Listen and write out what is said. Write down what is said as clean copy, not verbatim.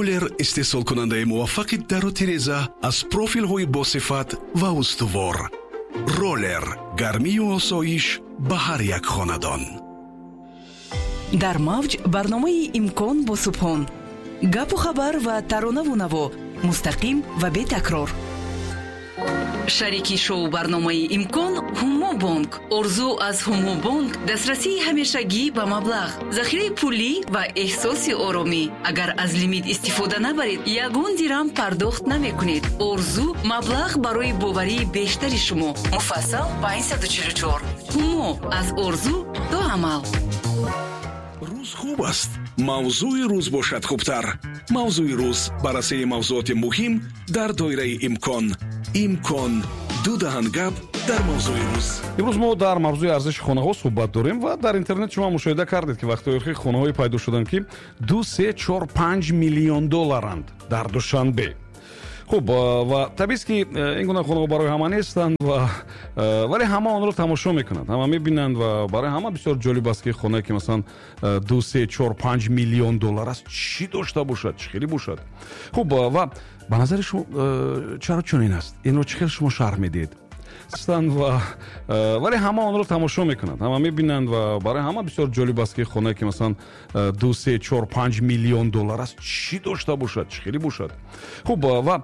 Ролер, истеҳсолкунандаи муваффақи дару тиреза аз профилҳои босифат ва устувор. Ролер, гармию осоиш ба ҳар як хонадон. Дар мавҷ барномаи «Имкон» бо Субҳон. Гапу хабар ва таронаву наво мустақим ва бетакрор. Шарики шоу барномаи «Имкон» Ҳумо Бонк. Орзу аз Ҳумо Бонк: дастрасии ҳамешагӣ ба маблағ, захираи пулӣ ва эҳсоси оромӣ. Агар аз лимит истифода набаред, ягон дирам пардохт намекунед. Орзу: маблағ барои боварии бештари шумо. Муфассал 544. Ҳумо: аз орзу то амал. Рӯз хуб аст, мавзӯи рӯз бошад хубтар. «Мавзӯи рӯз», баррасии мавзӯоти муҳим дар доираи имкон. «Имкон», ду даҳан гап дар мавзӯи рӯз. Имрӯз мо дар мавзӯи арзиши хонаҳо суҳбат дорем ва дар интернет шумо мушоҳида кардед, ки вақтҳои охир хонаҳое пайдо шуданд, ки 2, 3, 4, 5 миллион долларанд дар Душанбе. Хуб, ва табиист, ки ин гуна хонаҳо барои ҳама нестанд ва вале ҳама онро тамошо мекунанд, ҳама мебинанд ва барои ҳама бисёр ҷолиб аст, ки хонае, ки масалан 2, 3, 4, 5 миллион доллар аст, чӣ дошта бошад, чӣ хеле бошад. Хуб, ва ба назари шумо, чаро чунин аст? Инро чӣ хел шумо шарҳ медиҳед? Ва вале ҳама онро тамошо мекунанд, ҳама мебинанд ва барои ҳама бисёр ҷолиб аст, ки хонае, ки масалан 2, 3, 4, 5 миллион доллар аст, чӣ дошта бошад, чӣ хеле бошад. Хуб, ва